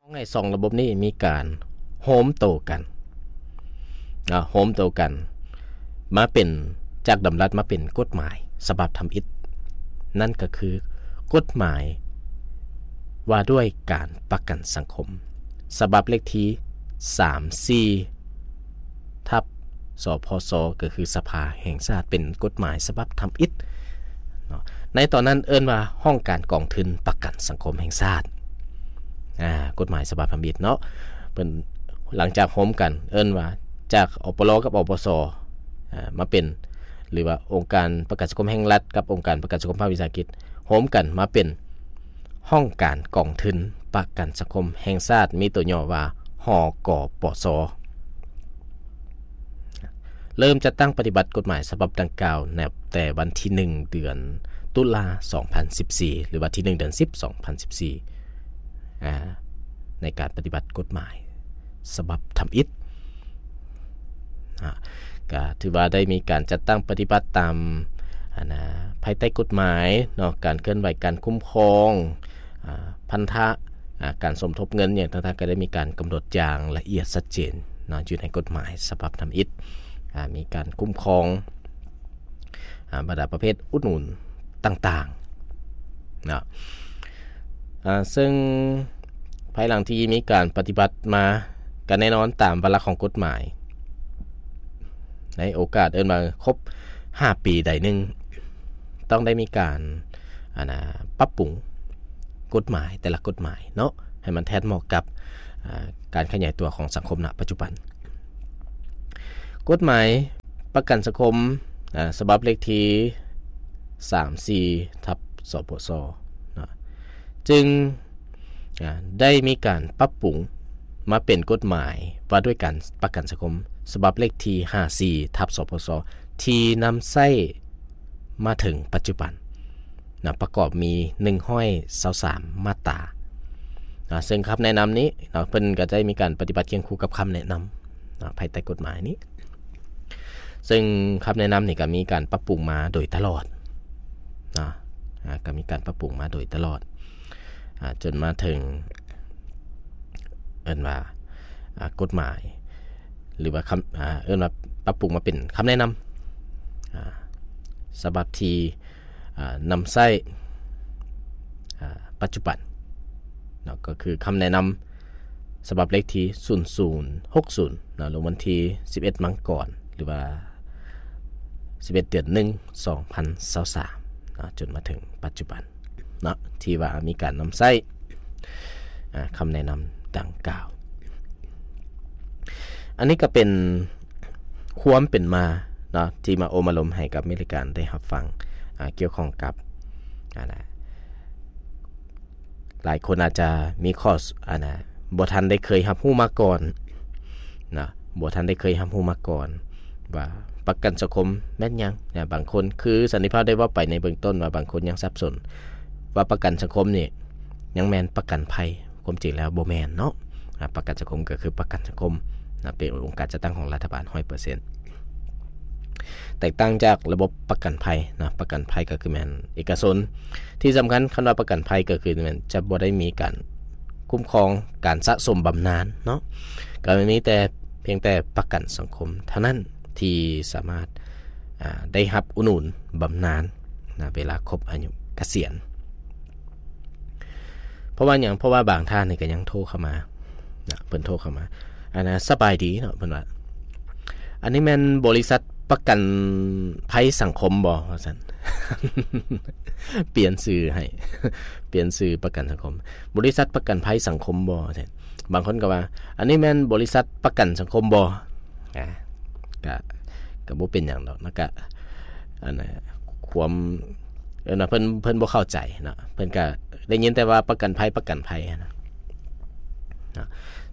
ໃຫ້ສອງລະບົບນີ້ມີການໂຮມໂຕກັນ ນະ ໂຮມໂຕກັນມາເປັນ ຈາກດຳລັດມາເປັນກົດໝາຍສະບັບທຳອິດ, ນັ້ນກໍຄືກົດໝາຍວ່າດ້ວຍການປະກັນສັງຄົມ ສະບັບເລກທີສາມສີ່ ທັບ ສພຊ ກໍຄືສະພາແຫ່ງຊາດ ເປັນກົດໝາຍສະບັບທຳອິດເນາະ. ໃນຕອນນັ້ນເອີ້ນວ່າຫ້ອງການກອງທຶນປະກັນສັງຄົມແຫ່ງຊາດ ອາ ກົດໝາຍສະບັບທຳອິດເນາະ. ເພິ່ນ ຫຼັງຈາກໂຮມກັນ ເອີ້ນວ່າຈາກ ອປລ ກັບ ອປສ ອາ ມາເປັນ ຫຼືວ່າອົງການປະກັນສັງຄົມແຫ່ງລັດກັບອົງການປະກັນສັງຄົມພາກວິສາຫະກິດ ໂຮມກັນມາເປັນ ຫ້ອງການກອງທຶນປະກັນສັງຄົມແຫ່ງຊາດ ມີຕົວຫຍໍ້ວ່າ ຫກປສ. ເລີ່ມຈັດຕັ້ງປະຕິບັດກົດໝາຍສະບັບດັ່ງກ່າວ ນັບແຕ່ວັນທີໜຶ່ງ ເດືອນຕຸລາ ສອງພັນສິບສີ່ ຫຼືວ່າທີໜຶ່ງ ເດືອນສິບ ສອງພັນສິບສີ່ ອາ ໃນການປະຕິບັດກົດໝາຍສະບັບທຳອິດ ອາ ກະຖືວ່າໄດ້ມີການຈັດຕັ້ງປະຕິບັດຕາມ ອັນນາ ພາຍໃຕ້ກົດໝາຍເນາະ, ການເຄື່ອນໄຫວ, ການຄຸ້ມຄອງ ອາ ພັນທະ ອາ ການສົມທົບເງິນຫຍັງຕ່າງໆ ກໍໄດ້ມີການກຳນົດຢ່າງລະອຽດຊັດເຈນເນາະ ຢູ່ໃນກົດໝາຍສະບັບທຳອິດ. ອາ ມີການຄຸ້ມຄອງ ອາ ບັນດາປະເພດອຸດໜູນຕ່າງໆເນາະ. ອາ ເຊິ່ງພາຍຫຼັງທີ່ມີການປະຕິບັດມາ ກໍແນ່ນອນຕາມວາລະຂອງກົດໝາຍ ໃນໂອກາດເອີ້ນວ່າຄົບຫ້າປີໃດໜຶ່ງ ຕ້ອງໄດ້ມີການ ອັນນາ ປັບປຸງກົດໝາຍແຕ່ລະກົດໝາຍເນາະ ໃຫ້ມັນແທດເໝາະກັບ ອາ ການຂະຫຍາຍຕົວຂອງສັງຄົມນະປັດຈຸບັນ. ກົດໝາຍປະກັນສັງຄົມ ອາ ສະບັບເລກທີສາມສີ່ ທັບ ສພຊ ເນາະ ຈຶ່ງ ອາ ໄດ້ມີການປັບປຸງມາເປັນກົດໝາຍວ່າດ້ວຍການປະກັນສັງຄົມ ສະບັບເລກທີຫ້າສີ່ ທັບ ສພຊ ທີ່ນຳໃຊ້ມາເຖິງປັດຈຸບັນນະ ປະກອບມີໜຶ່ງຮ້ອຍຊາວສາມມາດຕາ ນະ ເຊິ່ງຄຳແນະນຳນີ້ເນາະ ເພິ່ນກໍໄດ້ມີການປະຕິບັດຄຽງຄູ່ກັບຄຳແນະນຳ ນະ ພາຍໃຕ້ກົດໝາຍນີ້. ເຊິ່ງຄຳແນະນຳນີ້ກໍມີການປັບປຸງມາໂດຍຕະຫຼອດເນາະ ອາ ກໍມີການປັບປຸງມາໂດຍຕະຫຼອດ ອາ ຈົນມາເຖິງ ເອີ້ນວ່າ ອາ ກົດໝາຍ ຫຼືວ່າຄຳ ອາ ເອີ້ນວ່າປັບປຸງມາເປັນຄຳແນະນຳ ອາ ສະບັບທີ່ ອາ ນຳໃຊ້ ອາ ປັດຈຸບັນເນາະ ກໍຄືຄຳແນະນຳ ສະບັບເລກທີສູນສູນຫົກສູນເນາະ ລົງວັນທີສິບເອັດມັງກອນ ຫຼືວ່າສິບເອັດເດືອນໜຶ່ງ ສອງພັນຊາວສາມເນາະ ຈົນມາເຖິງປັດຈຸບັນເນາະ ທີ່ວ່າມີການນຳໃຊ້ ອາ ຄຳແນະນຳດັ່ງກ່າວ. ອັນນີ້ກໍເປັນຄວາມເປັນມາເນາະ ທີ່ມາໂອ້ມາລົມໃຫ້ກັບມິດລາຍການໄດ້ຮັບຟັງ ອາ ກ່ຽວຂ້ອງກັບ ອັນນະ ຫຼາຍຄົນອາດຈະມີຂໍ້ ອັນນະ ບໍ່ທັນໄດ້ເຄີຍຮັບຮູ້ມາກ່ອນນະ ບໍ່ທັນໄດ້ເຄີຍຮັບຮູ້ມາກ່ອນວ່າປະກັນສັງຄົມແມ່ນຫຍັງນະ. ບາງຄົນ ຄືສັນຕິພາບໄດ້ເວົ້າໄປໃນເບື້ອງຕົ້ນວ່າ ບາງຄົນຍັງສັບສົນວ່າປະກັນສັງຄົມນີ້ຍັງແມ່ນປະກັນໄພ. ຄວາມຈິງແລ້ວບໍ່ແມ່ນເນາະ ອາ ປະກັນສັງຄົມກໍຄືປະກັນສັງຄົມນະ ເປັນອົງການຈັດຕັ້ງຂອງລັດຖະບານຮ້ອຍເປີເຊັນ ແຕກຕ່າງຈາກລະບົບປະກັນໄພນະ. ປະກັນໄພກໍຄືແມ່ນເອກະຊົນ. ທີ່ສຳຄັນ ຄຳວ່າປະກັນໄພກໍຄືແມ່ນຈະບໍ່ໄດ້ມີການຄຸ້ມຄອງການສະສົມບຳນານເນາະ ກໍມີແຕ່ ພຽງແຕ່ປະກັນສັງຄົມເທົ່ານັ້ນທີ່ສາມາດ ອາ ໄດ້ຮັບອຸດໜູນບຳນານນະ ເວລາຄົບອາຍຸກະສຽນ. ເພາະວ່າຫຍັງ? ເພາະວ່າບາງທ່ານນີ້ກໍຍັງໂທເຂົ້າມານະ ເພິ່ນໂທເຂົ້າມາ ອັນນະ ສະບາຍດີເນາະ ເພິ່ນວ່າ ອັນນີ້ແມ່ນບໍລິສັດປະກັນໄພສັງຄົມບໍ່? ວ່າຊັ້ນ ປ່ຽນຊື່ໃຫ້ ປ່ຽນຊື່ປະກັນສັງຄົມ ບໍລິສັດປະກັນໄພສັງຄົມບໍ່? ວ່າຊັ້ນ. ບາງຄົນກໍວ່າ ອັນນີ້ແມ່ນບໍລິສັດປະກັນສັງຄົມບໍ່? ອາ ກະ ກະບໍ່ເປັນຫຍັງດອກນະ ກະ ອັນນະ ຄວາມ ເອີ້ນວ່າເພິ່ນ ເພິ່ນບໍ່ເຂົ້າໃຈເນາະ ເພິ່ນກະໄດ້ຍິນແຕ່ວ່າປະກັນໄພ ປະກັນໄພຫັ້ນນະ ນະ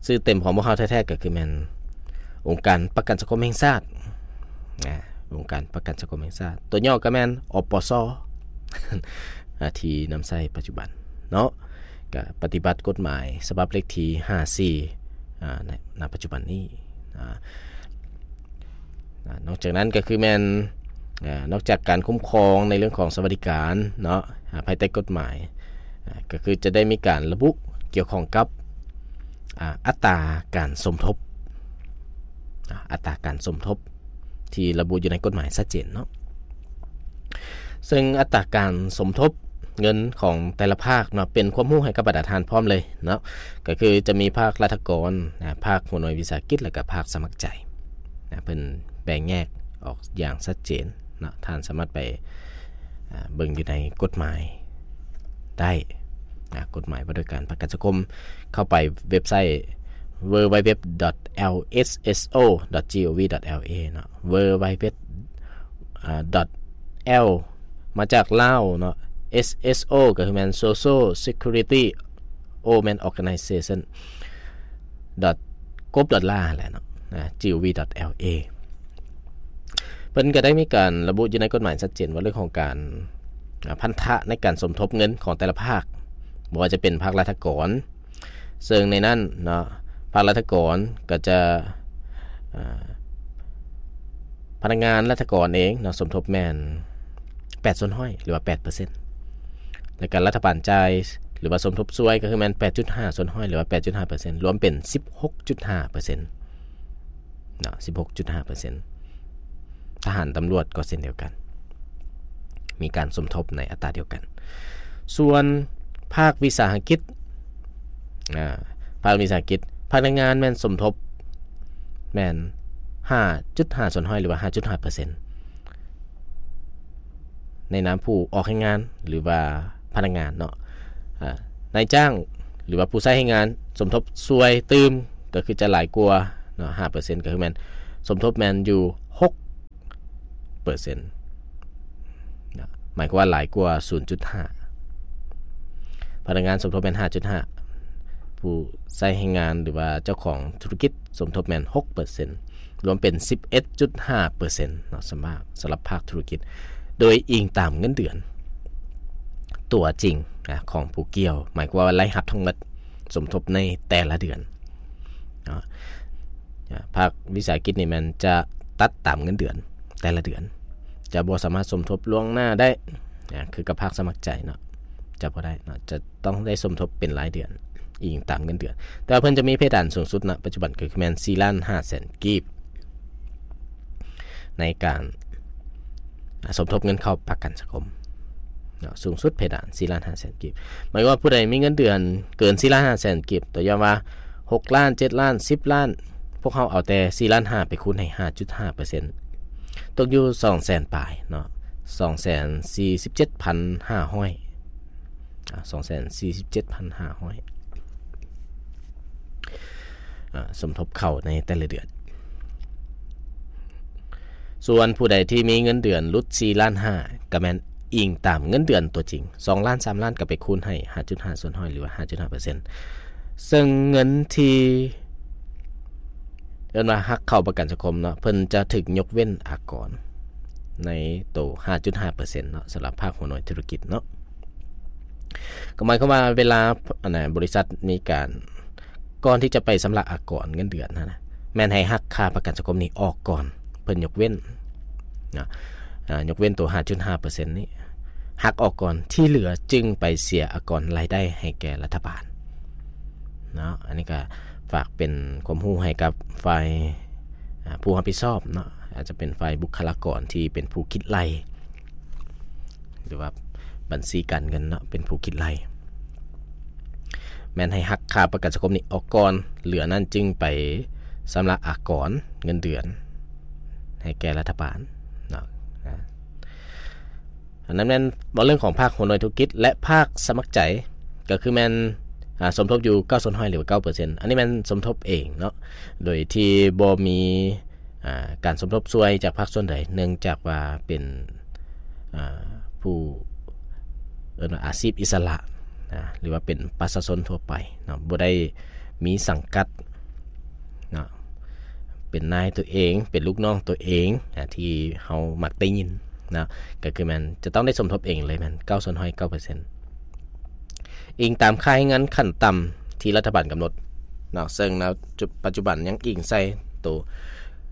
ຊື່ເຕັມຂອງພວກເຮົາແທ້ໆ ກໍຄືແມ່ນອົງການປະກັນສັງຄົມແຫ່ງຊາດ ອາ ອົງການປະກັນສັງຄົມແຫ່ງຊາດ ຕົວຫຍໍ້ກໍແມ່ນ ອປສ ອາ ທີ່ນຳໃຊ້ປັດຈຸບັນເນາະ ກະປະຕິບັດກົດໝາຍສະບັບເລກທີຫ້າສີ່ ອາ ໃນ ນະ ປັດຈຸບັນນີ້ ອາ ນອກຈາກນັ້ນກໍຄືແມ່ນ ອາ ນອກຈາກການຄຸ້ມຄອງໃນເລື່ອງຂອງສະຫວັດດີການເນາະ ອາ ພາຍໃຕ້ກົດໝາຍ ອາ ກໍຄືຈະໄດ້ມີການລະບຸກ່ຽວຂ້ອງກັບ ອາ ອັດຕາການສົມທົບ ອາ ອັດຕາການສົມທົບທີ່ລະບຸຢູ່ໃນກົດໝາຍຊັດເຈນເນາະ. ເຊິ່ງອັດຕາການສົມທົບເງິນຂອງແຕ່ລະພາກເນາະ ເປັນຄວາມຮູ້ໃຫ້ກັບບັນດາທ່ານພ້ອມເລີຍເນາະ, ກໍຄືຈະມີພາກລັດຖະກອນ ອາ ພາກຫົວໜ່ວຍວິສາຫະກິດ ແລະກະພາກສະໝັກໃຈນະ. ເພິ່ນແບ່ງແຍກອອກຢ່າງຊັດເຈນເນາະ, ທ່ານສາມາດໄປ ອາ ເບິ່ງຢູ່ໃນກົດໝາຍໄດ້ນະ, ກົດໝາຍວ່າດ້ວຍການປະກັນສັງຄົມ. ເຂົ້າໄປເວັບໄຊ www.lssogo.gov.la ເນາະ, www ອາ .l ມາຈາກລາວເນາະ, sso ກໍຄືແມ່ນ Social Security, o ແມ່ນ Organization, .gov.la ແຫຼະເນາະ, gov.la. ເພິ່ນກໍໄດ້ມີການລະບຸຢູ່ໃນກົດໝາຍຊັດເຈນວ່າເລື່ອງຂອງການ ອາ ພັນທະໃນການສົມທົບເງິນຂອງແຕ່ລະພາກ, ບໍ່ວ່າຈະເປັນພາກລັດຖະກອນ, ເຊິ່ງໃນນັ້ນເນາະ ພາກລັດຖະກອນກໍຈະ ອາ ພະນັກງານລັດຖະກອນເອງເນາະ ສົມທົບແມ່ນແປດສ່ວນຮ້ອຍ ຫຼືວ່າແປດເປີເຊັນ, ແລະກະລັດຖະບານຈ່າຍ ຫຼືວ່າສົມທົບຊ່ວຍ ກໍຄືແມ່ນແປດຈຸດຫ້າສ່ວນຮ້ອຍ ຫຼືວ່າແປດຈຸດຫ້າເປີເຊັນ, ລວມເປັນສິບຫົກຈຸດຫ້າເປີເຊັນເນາະ, ສິບຫົກຈຸດຫ້າເປີເຊັນ. ທະຫານ, ຕຳຫຼວດກໍເຊັ່ນດຽວກັນ ມີການສົມທົບໃນອັດຕາດຽວກັນ. ສ່ວນພາກວິສາຫະກິດ ອາ ພາກວິສາຫະກິດ ພະນັກງານແມ່ນສົມທົບແມ່ນຫ້າຈຸດຫ້າສ່ວນຮ້ອຍ ຫຼືວ່າຫ້າຈຸດຫ້າເປີເຊັນ ໃນນາມຜູ້ອອກແຮງງານ ຫຼືວ່າພະນັກງານເນາະ, ອາ ນາຍຈ້າງ ຫຼືວ່າຜູ້ໃຊ້ແຮງງານສົມທົບຊ່ວຍຕື່ມ ກໍຄືຈະຫຼາຍກວ່າເນາະ ຫ້າເປີເຊັນ, ກໍຄືແມ່ນສົມທົບແມ່ນຢູ່ຫົກເປີເຊັນນະ, ໝາຍຄວາມວ່າຫຼາຍກວ່າສູນຈຸດຫ້າ. ພະນັກງານສົມທົບແມ່ນຫ້າຈຸດຫ້າ, ຜູ້ໃຊ້ແຮງງານ ຫຼືວ່າເຈົ້າຂອງທຸລະກິດສົມທົບແມ່ນຫົກເປີເຊັນ, ລວມເປັນສິບເອັດຈຸດຫ້າເປີເຊັນເນາະ ສຳລັບ ສຳລັບພາກທຸລະກິດ, ໂດຍອີງຕາມເງິນເດືອນຕົວຈິງນະ ຂອງຜູ້ກ່ຽວ, ໝາຍຄວາມວ່າລາຍຮັບທັງໝົດສົມທົບໃນແຕ່ລະເດືອນເນາະ. ອາ ພາກວິສາຫະກິດນີ້ແມ່ນຈະຕັດຕາມເງິນເດືອນແຕ່ລະເດືອນ, ຈະບໍ່ສາມາດສົມທົບລ່ວງໜ້າໄດ້ ອາ ຄືກັບພາກສະໝັກໃຈເນາະ, ຈະບໍ່ໄດ້ເນາະ, ຈະຕ້ອງໄດ້ສົມທົບເປັນລາຍເດືອນ ອີງຕາມເງິນເດືອນ. ແຕ່ວ່າເພິ່ນຈະມີເພດານສູງສຸດນະປັດຈຸບັນ ກໍຄືແມ່ນສີ່ລ້ານຫ້າແສນກີບ ໃນການ ອາ ສົມທົບເງິນເຂົ້າປະກັນສັງຄົມເນາະ, ສູງສຸດເພດານສີ່ລ້ານຫ້າແສນກີບ. ໝາຍວ່າຜູ້ໃດມີເງິນເດືອນເກີນສີ່ລ້ານຫ້າແສນກີບ, ຕົວຢ່າງວ່າຫົກລ້ານ, ເຈັດລ້ານ, ສິບລ້ານ, ພວກເຮົາເອົາແຕ່ສີ່ລ້ານຫ້າໄປຄູນໃຫ້ຫ້າຈຸດຫ້າເປີເຊັນ, ຕົກຢູ່ສອງແສນປາຍເນາະ, ສອງແສນສີ່ສິບເຈັດພັນຫ້າຮ້ອຍ ອາ ສອງແສນສີ່ສິບເຈັດພັນຫ້າຮ້ອຍ ອາ ສົມທົບເຂົ້າໃນແຕ່ລະເດືອນ. ສ່ວນຜູ້ໃດທີ່ມີເງິນເດືອນຫຼຸດສີ່ລ້ານຫ້າ ກໍແມ່ນອີງຕາມເງິນເດືອນຕົວຈິງ, ສອງລ້ານ, ສາມລ້ານ ກໍໄປຄູນໃຫ້ຫ້າຈຸດຫ້າສ່ວນຮ້ອຍ ຫຼືວ່າຫ້າຈຸດຫ້າເປີເຊັນ. ເຊິ່ງເງິນທີ່ ເອີ້ນວ່າຫັກເຂົ້າປະກັນສັງຄົມເນາະ, ເພິ່ນຈະຖືກຍົກເວັ້ນອາກອນໃນໂຕຫ້າຈຸດຫ້າເປີເຊັນເນາະ, ສຳລັບພາກຫົວໜ່ວຍທຸລະກິດເນາະ. ກໍໝາຍຄວາມວ່າເວລາ ອັນນ່າ ບໍລິສັດມີການ ກ່ອນທີ່ຈະໄປຊຳລະອາກອນເງິນເດືອນຫັ້ນນະ, ແມ່ນໃຫ້ຫັກຄ່າປະກັນສັງຄົມນີ້ອອກກ່ອນ, ເພິ່ນຍົກເວັ້ນເນາະ, ອາ ຍົກເວັ້ນໂຕຫ້າຈຸດຫ້າເປີເຊັນນີ້ ຫັກອອກກ່ອນ, ທີ່ເຫຼືອຈຶ່ງໄປເສຍອາກອນລາຍໄດ້ໃຫ້ແກ່ລັດຖະບານເນາະ. ອັນນີ້ກໍຝາກເປັນຄວາມຮູ້ໃຫ້ກັບຝ່າຍ ອາ ຜູ້ຮັບຜິດຊອບເນາະ, ອາດຈະເປັນຝ່າຍບຸກຄະລາກອນທີ່ເປັນຜູ້ຄິດໄລ່ ຫຼືວ່າບັນຊີການເງິນເນາະ ເປັນຜູ້ຄິດໄລ່, ແມ່ນໃຫ້ຫັກຄ່າປະກັນສັງຄົມນີ້ອອກກ່ອນ, ເຫຼືອນັ້ນຈຶ່ງໄປຊຳລະອາກອນເງິນເດືອນໃຫ້ແກ່ລັດຖະບານເນາະ. ອາ ອັນນັ້ນແມ່ນເວົ້າເລື່ອງຂອງພາກຫົວໜ່ວຍທຸລະກິດ ແລະ ພາກສະໝັກໃຈ ກໍຄືແມ່ນ ອາ ສົມທົບຢູ່ເກົ້າສ່ວນຮ້ອຍ ຫຼືວ່າເກົ້າເປີເຊັນ. ອັນນີ້ແມ່ນສົມທົບເອງເນາະ, ໂດຍທີ່ບໍ່ມີ ອາ ການສົມທົບຊ່ວຍຈາກພາກສ່ວນໃດ, ເນື່ອງຈາກວ່າເປັນ ອາ ຜູ້ ເອີ້ນວ່າອາຊີບອິດສະຫຼະນະ ຫຼືວ່າເປັນປະຊາຊົນທົ່ວໄປເນາະ, ບໍ່ໄດ້ມີສັງກັດເນາະ, ເປັນນາຍຕົວເອງ, ເປັນລູກນ້ອງຕົວເອງ ອາ ທີ່ເຮົາມັກໄດ້ຍິນເນາະ, ກໍຄືແມ່ນຈະຕ້ອງໄດ້ສົມທົບເອງເລີຍ, ແມ່ນເກົ້າສ່ວນຮ້ອຍ ເກົ້າເປີເຊັນ. ອີງຕາມຄ່າແຮງງານຂັ້ນຕ່ຳທີ່ລັດຖະບານກຳນົດເນາະ, ເຊິ່ງໃນປັດຈຸບັນຍັງອີງໃສ່ໂຕ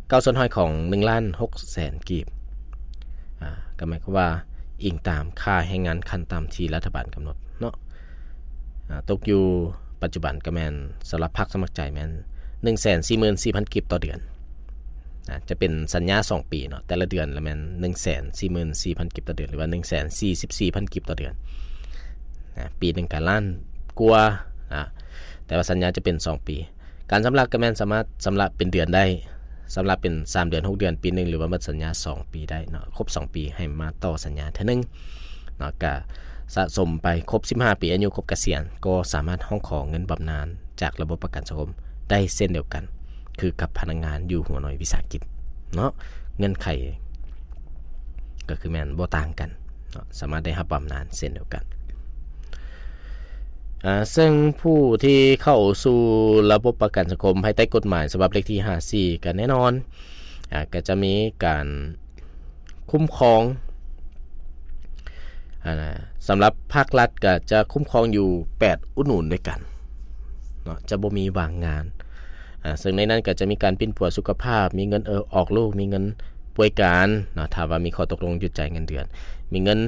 ເກົ້າສ່ວນຮ້ອຍຂອງໜຶ່ງລ້ານຫົກແສນກີບ, ອາ ກໍໝາຍຄວາມວ່າອີງຕາມຄ່າແຮງງານຂັ້ນຕ່ຳທີ່ລັດຖະບານກຳນົດເນາະ, ອາ ຕົກຢູ່ປ ປັດຈຸບັນກໍແມ່ນສຳລັບພັກສະໝັກໃຈແມ່ນໜຶ່ງແສນສີ່ໝື່ນສີ່ພັນກີບຕໍ່ເດືອນນະ ຈະເປັນສັນຍາສອງປີເນາະ ແຕ່ລະເດືອນລະແມ່ນໜຶ່ງແສນສີ່ໝື່ນສີ່ພັນກີບຕໍ່ເດືອນ ຫຼືວ່າໜຶ່ງແສນສີ່ສິບສີ່ພັນກີບຕໍ່ເດືອນນະ ປີໜຶ່ງກໍລ້ານກວ່ານະ ແຕ່ວ່າສັນຍາຈະເປັນສອງປີ. ການຊຳລະກໍແມ່ນສາມາດຊຳລະເປັນເດືອນໄດ້ ຊຳລະເປັນສາມເດືອນ ຫົກເດືອນ ປີໜຶ່ງ ຫຼືວ່າໝົດສັນຍາສອງປີໄດ້ເນາະ ຄົບສອງປີໃຫ້ມາຕໍ່ສັນຍາເທື່ອໜຶ່ງເນາະ ກະສະສົມໄປຄົບສິບຫ້າປີ ອາຍຸຄົບກະສຽນ ກໍສາມາດຮ້ອງຂໍເງິນບຳນານຈາກລະບົບປະກັນສັງຄົມໄດ້ເຊັ່ນດຽວກັນ ຄືກັບພະນັກງານຢູ່ຫົວໜ່ວຍວິສາຫະກິດເນາະ ເງື່ອນໄຂກໍຄືແມ່ນບໍ່ຕ່າງກັນເນາະ ສາມາດໄດ້ຮັບບຳນານເຊັ່ນດຽວກັນ. ອາ ເຊິ່ງຜູ້ທີ່ເຂົ້າສູ່ລະບົບປະກັນສັງຄົມພາຍໃຕ້ກົດໝາຍສະບັບເລກທີຫ້າສິບສີ່ ກໍແນ່ນອນ ອາ ກໍຈະມີການຄຸ້ມຄອງ ອາ ສຳລັບພາກລັດກໍຈະຄຸ້ມຄອງຢູ່ແປດອຸດໜູນດ້ວຍກັນເນາະ ຈະບໍ່ມີວ່າງງານ ອາ ເຊິ່ງໃນນັ້ນກໍຈະມີການປິ່ນປົວສຸຂະພາບ ມີເງິນເອີ ອອກລູກ ມີເງິນປ່ວຍການເນາະ ຖ້າວ່າມີຂໍ້ຕົກລົງຢຸດຈ່າຍເງິນເດືອນ ມີເງິນ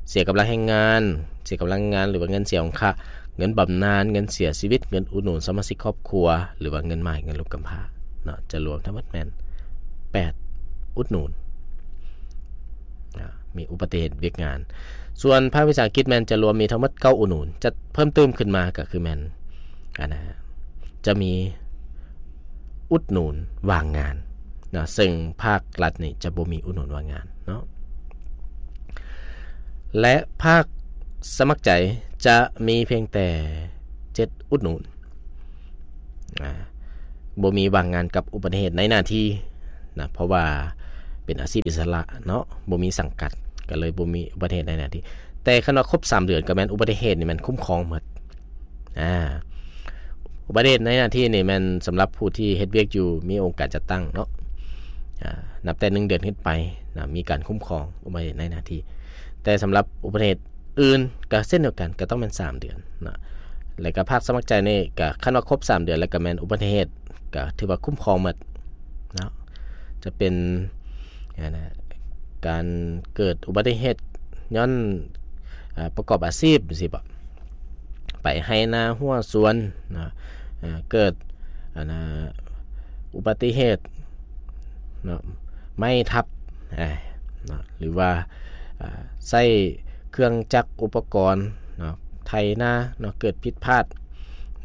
ເສຍກຳລັງແຮງງານ ເສຍກຳລັງງານ ຫຼືວ່າເງິນເສຍອົງຄະ ເງິນບຳນານ ເງິນເສຍຊີວິດ ເງິນອຸດໜູນສະມາຊິກຄອບຄົວ ຫຼືວ່າເງິນໝ້າຍ ເງິນລູກກຳພ້າເນາະ ຈະລວມທັງໝົດແມ່ນແປດອຸດໜູນ ອາ ມີອຸປະຕິເຫດວຽກງານ. ສ່ວນພາກວິສາຫະກິດແມ່ນຈະລວມມີທັງໝົດເກົ້າອຸດໜູນ ຈະເພີ່ມຕື່ມຂຶ້ນມາກໍຄືແມ່ນ ອັນນະ ຈະມີອຸດໜູນວ່າງງານເນາະ ເຊິ່ງພາກລັດນີ້ຈະບໍ່ມີອຸດໜູນວ່າງງານເນາະ ແລະ ພາກສະໝັກໃຈຈະມີພຽງແຕ່ເຈັດອຸດໜູນ ອາ ບໍ່ມີວ່າງງານກັບອຸປະຕິເຫດໃນໜ້າທີ່ນະ ເພາະວ່າເປັນອາຊີບອິດສະຫຼະເນາະ ບໍ່ມີສັງກັດ ກໍເລີຍບໍ່ມີອຸປະຕິເຫດໃນໜ້າທີ່. ແຕ່ຄັນວ່າຄົບສາມເດືອນ ກໍແມ່ນອຸປະຕິເຫດນີ້ແມ່ນຄຸ້ມຄອງໝົດ ອາ ອຸປະຕິເຫດໃນໜ້າທີ່ນີ້ແມ່ນສຳລັບຜູ້ທີ່ເຮັດວຽກຢູ່ ມີອົງການຈັດຕັ້ງເນາະ ອາ ນັບແຕ່ໜຶ່ງເດືອນຂຶ້ນໄປນະ ມີການຄຸ້ມຄອງອຸປະຕິເຫດໃນໜ້າທີ່. ແຕ່ສຳລັບອຸປະຕິເຫດອື່ນກໍເຊັ່ນດຽວກັນ ກໍຕ້ອງແມ່ນສາມເດືອນເນາະ ແລ້ວກໍພາກສະໝັກໃຈນີ້ກໍຄັນວ່າຄົບສາມເດືອນ ແລ້ວກໍແມ່ນອຸປະຕິເຫດ ກໍຖືວ່າຄຸ້ມຄອງໝົດເນາະ ຈະເປັນ ອັນນະ ການເກີດອຸບັດຕິເຫດຍ້ອນ ອາ ປະກອບອາຊີບຈັ່ງຊີ້ບໍ ໄປໄຮ່ນາຮົ້ວສວນເນາະ ເກີດ ອັນນະ ອຸບັດຕິເຫດເນາະ ໄມ້ທັບ ອາ ເນາະ ຫຼືວ່າ ອາ ໃຊ້ເຄື່ອງຈັກອຸປະກອນເນາະ ໄຖນາເນາະ ເກີດຜິດພາດ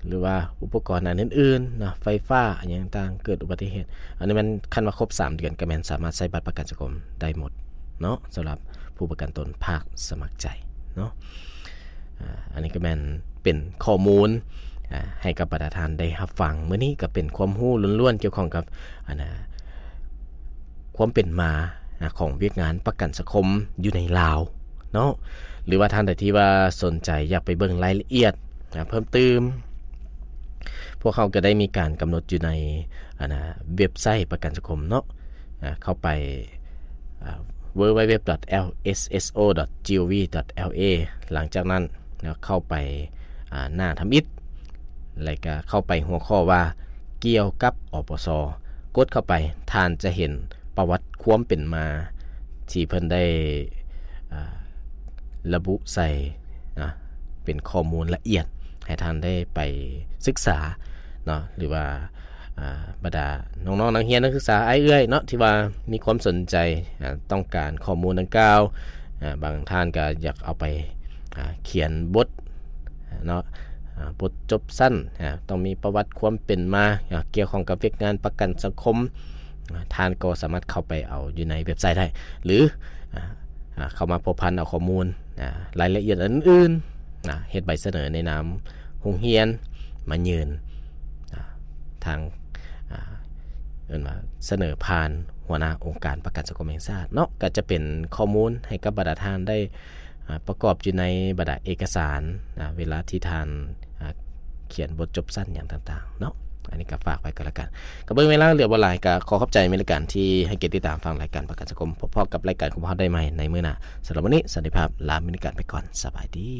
ຫຼືວ່າອຸປະກອນອັນອື່ນໆເນາະ ໄຟຟ້າ ອີ່ຫຍັງຕ່າງໆ ເກີດອຸບັດຕິເຫດ ອັນນີ້ແມ່ນຄັນວ່າຄົບສາມເດືອນ ກໍແມ່ນສາມາດໃຊ້ບັດປະກັນສັງຄົມໄດ້ໝົດເນາະ ສຳລັບຜູ້ປະກັນຕົນພາກສະໝັກໃຈເນາະ. ອາ ອັນນີ້ກໍແມ່ນເປັນຂໍ້ມູນ ອາ ໃຫ້ກັບບັນດາທ່ານໄດ້ຮັບຟັງ. ມື້ນີ້ກໍເປັນຄວາມຮູ້ລ້ວນໆ ກ່ຽວຂ້ອງກັບ ອັນນະ ຄວາມເປັນມາ ອາ ຂອງວຽກງານປະກັນສັງຄົມຢູ່ໃນລາວເນາະ ຫຼືວ່າທ່ານໃດທີ່ວ່າສົນໃຈຢາກໄປເບິ່ງລາຍລະອຽດ ອາ ເພີ່ມຕື່ມ ພວກເຮົາກໍໄດ້ມີການກຳນົດຢູ່ໃນ ອັນນະ ເວັບໄຊປະກັນສັງຄົມເນາະ ອາ ເຂົ້າໄປ ອາ www.lsso.gov.la ຫຼັງຈາກນັ້ນເນາະ ເຂົ້າໄປ ອາ ໜ້າທຳອິດ ແລ້ວກໍເຂົ້າໄປຫົວຂໍ້ວ່າກ່ຽວກັບ ອປສ ກົດເຂົ້າໄປ ທ່ານຈະເຫັນປະຫວັດຄວາມເປັນມາທີ່ເພິ່ນໄດ້ ອາ ລະບຸໃສ່ນະ ເປັນຂໍ້ມູນລະອຽດ ໃຫ້ທ່ານໄດ້ໄປສຶກສາເນາະ ຫຼືວ່າ ອາ ບັນດານ້ອງໆ ນັກຮຽນນັກສຶກສາ ອ້າຍເອື້ອຍເນາະ ທີ່ວ່າມີຄວາມສົນໃຈ ອາ ຕ້ອງການຂໍ້ມູນດັ່ງກ່າວ ອາ ບາງທ່ານກໍຢາກເອົາໄປ ອາ ຂຽນບົດເນາະ ອາ ບົດຈົບສັ້ນ ອາ ຕ້ອງມີປະຫວັດຄວາມເປັນມາ ອາ ກ່ຽວຂ້ອງກັບວຽກງານປະກັນສັງຄົມ ອາ ທ່ານກໍສາມາດເຂົ້າໄປເອົາຢູ່ໃນເວັບໄຊໄດ້ ຫຼື ອາ ອາ ເຂົ້າມາພົວພັນເອົາຂໍ້ມູນ ອາ ລາຍລະອຽດອັນອື່ນໆ ອາ ເຮັດໃບສະເໜີໃນນາມໂຮງຮຽນມາຍື່ນ ອາ ທາງ ອາ ເອີ້ນວ່າສະເໜີຜ່ານຫົວໜ້າອົງການປະກັນສັງຄົມແຫ່ງຊາດເນາະ ກໍຈະເປັນຂໍ້ມູນໃຫ້ກັບບັນດາທ່ານໄດ້ ອາ ປະກອບຢູ່ໃນບັນດາເອກະສານ ອາ ເວລາທີ່ທ່ານ ອາ ຂຽນບົດຈົບສັ້ນຫຍັງຕ່າງໆເນາະ. ອັນນີ້ກໍຝາກໄວ້ກໍແລ້ວກັນ ກໍເບິ່ງເວລາເຫຼືອບໍ່ຫຼາຍ ກໍຂໍຂອບໃຈແມ່ນລາຍການທີ່ໃຫ້ກຽດຕິດຕາມຟັງລາຍການປະກັນສັງຄົມ. ພົບພໍ້ກັບລາຍການຂອງພວກເຮົາໄດ້ໃໝ່ໃນມື້ໜ້າ. ສຳລັບມື້ນີ້ ສະຫວັດດີ ລາແມ່ນລາຍການໄປກ່ອນ. ສະບາຍດີ.